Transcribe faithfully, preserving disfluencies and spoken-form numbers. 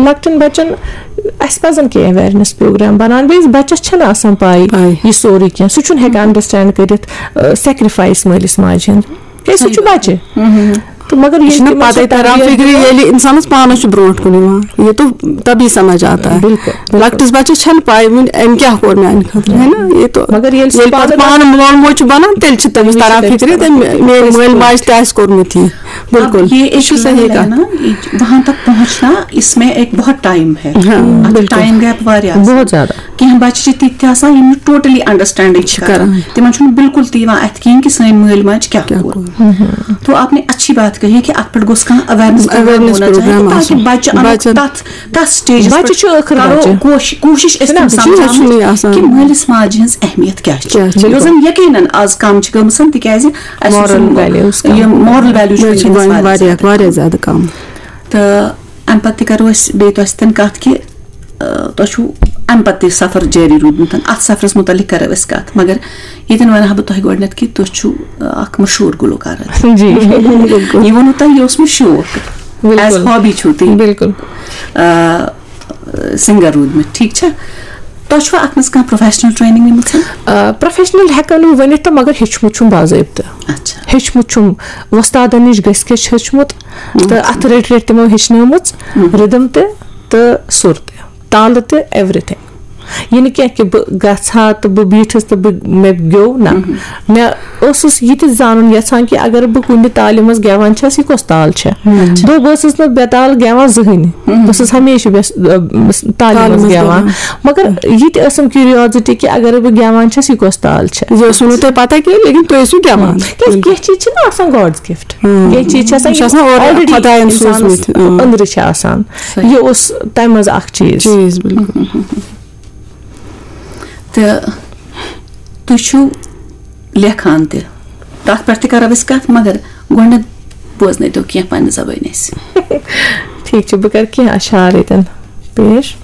لۄکٹٮ۪ن بَچَن، اَسہِ پَزَن کینٛہہ awareness program بَناوٕنۍ۔ بیٚیِس بَچَس چھَنہٕ آسان پَے پَے۔ یہِ سورُے کینٛہہ، سُہ چھُنہٕ ہٮ۪کان understand کٔرِتھ، آ، sacrifice مٲلِس ماجہِ ہُنٛد۔ کیٛازِ سُہ چھُ بَچہِ۔ تہٕ مگر یہِ ییٚلہِ چھُنہٕ تِمَن پَتَے سُہ تَران تربیت فِکرِ، دِیو، ییٚلہِ اِنسانَس پانَس چھُ برونٛٹھ کُن یِوان، یہِ تو تَبھی سَمجھ آتا ہے۔ بِلکُل، بِلکُل۔ لۄکٹِس بَچَس چھَنہٕ پَے وٕنہِ أمۍ کیٛاہ کوٚر میٛانہِ خٲطرٕ، ہے نا؟ یہِ تو مگر ییٚلہِ سُہ ییٚلہِ پَتہٕ پانہٕ پانہٕ مول موج چھُ بَنان، تیٚلہِ چھِ تٔمِس تٔمِس چھِ تَران تٔمِس فِکرِ، تَران۔ تٔمۍ میٛٲنۍ مٲلۍ ماجہِ تہِ آسہِ کوٚرمُت یہِ۔ بِلکُل، اب یہ یہِ ایک چھُ صحیح level ہے کَتھ۔ نا، یہ وہاں تک پہنچنا، اس میں ایک بہت ٹائم ہے۔ ہاں، اَتھ چھُ بِلکُل۔ ٹائم گیپ واریاہ آسان۔ بہت زیادٕ۔ کینٛہہ بَچہِ چھِ تِتھۍ تہِ آسان، یِم نہٕ totally understanding چھِ چھِ کران۔ کران۔ تِمن چھُنہٕ بِلکُل تہِ یِوان اَتھِ کِہیٖنۍ کہِ سٲنۍ مٲلۍ ماجہِ کیٛاہ کیٛاہ کوٚر۔ کوٚر۔ تو آپ نے اچھی بات کہی کہ اَتھ پٮ۪ٹھ گوٚژھ کانٛہہ awareness program awareness ہونا چاہیے، program تاکہِ آسُن۔ بَچہِ اَنو بَچَن۔ تَتھ، تَتھ stageس بَچہِ پٮ۪ٹھ چھُ ٲخٕر کرو بَچہِ۔ کوش-، کوٗشِش أسۍ چھُنہ، تِم چھُنہ، سَمجھاوٕنۍ چھُنہٕ یہِ آسان۔ کہِ مٲلِس ماجہِ ہٕنٛز اہمیت کیٛاہ چھِ۔ کیٛاہ چھِ۔ یۄس زَن یقیناً آز کَم چھِ گٔمٕژ، تِکیٛازِ اَسہِ moral چھُنہٕ values کَم۔ یہِ moral value چھُ مےٚ چھِ وٕنکیٚنَس وۄنۍ واریاہ واریاہ، زیادٕ کَم۔ واریاہ زیادٕ کَم۔ تہٕ اَمہِ پَتہٕ تہِ کَرو أسۍ بیٚیہِ تۄہہِ سۭتۍ کَتھ کہِ، آ، تۄہہِ چھُو اَمہِ پَتہٕ تہِ سَفر جٲری روٗدمُت۔ اَتھ سَفرَس مُتعلِق کَرو أسۍ کَتھ، مگر ییٚتٮ۪ن وَنہٕ ہا بہٕ تۄہہِ گۄڈٕنٮ۪تھ کہِ تُہۍ چھِو، آ، اَکھ مشہوٗر گُلوکار حظ۔ جی۔ یہِ ووٚنوٕ تۄہہِ، یہِ اوس مےٚ شوق۔ بِلکُل۔ As hobby چھُو تُہۍ۔ بِلکُل۔ آ، singer روٗدمٕتۍ، ٹھیٖک چھا؟ تۄہہِ چھُوا اَتھ منٛز کانٛہہ professional training نِمٕژ؟ آ، professional ہٮ۪کو نہٕ ؤنِتھ تہٕ مگر ہیوٚچھمُت چھُم باضٲبطہٕ۔ اچھا۔ ہیوٚچھمُت چھُم، وۄستادَن نِش گٔژھِتھ ہیوٚچھمُت تہٕ اچھا۔ اَتھٕ رٔٹۍ رٔٹۍ تِمو ہیٚچھنٲومٕژ، اہم۔ rhythm تہِ تہٕ سُر تہِ، تالہٕ تہِ، everything۔ یہِ نہٕ کینٛہہ کہِ بہٕ گژھٕ ہا تہٕ بہٕ بیٖٹھٕس تہٕ بہٕ، مےٚ گیوٚو، نہ۔ مےٚ اوسُس یہِ تہِ زانُن یَژھان کہِ اگر بہٕ کُنہِ تالہِ منٛز گٮ۪وان چھَس، یہِ کۄس تال چھےٚ؟ اچھا۔ بہٕ، بہٕ ٲسٕس نہٕ بے تال گٮ۪وان زٕہٕنۍ۔ بہٕ ٲسٕس ہمیشہِ بے، تالہِ تالہِ منٛز منٛز گٮ۪وان۔ گٮ۪وان۔ مگر یہِ تہِ ٲسٕم curiosity کہِ اگر بہٕ گٮ۪وان چھَس، یہِ کۄس تال چھےٚ؟ یہِ اوس نہٕ تۄہہِ پَتہ کینٛہہ، لیکن تُہۍ ٲسِو گٮ۪وان۔ کیٛازِ کینٛہہ چیٖز چھِنہٕ آسان God's gift۔ ہاں۔ کینٛہہ چیٖز چھِ آسان، یہِ چھُ یِم آسان اورَے already خۄدایَن اِنسانَس سوٗزمٕتۍ، اۭں۔ أنٛدرٕ چھِ آسان۔ صحیح۔ یہِ اوس تَمہِ منٛز اَکھ چیٖز۔ چیٖز، بِلکُل۔ تہٕ تُہۍ چھِو لیکھان تہِ، تَتھ پٮ۪ٹھ تہِ کَرو أسۍ کَتھ، مگر گۄڈٕنٮ۪تھ بوزنٲیتو کینٛہہ پنٛنہِ زبٲنۍ اَسہِ۔ ٹھیٖک چھُ، بہٕ کَرٕ کینٛہہ اَشعار ییٚتٮ۪ن پیش۔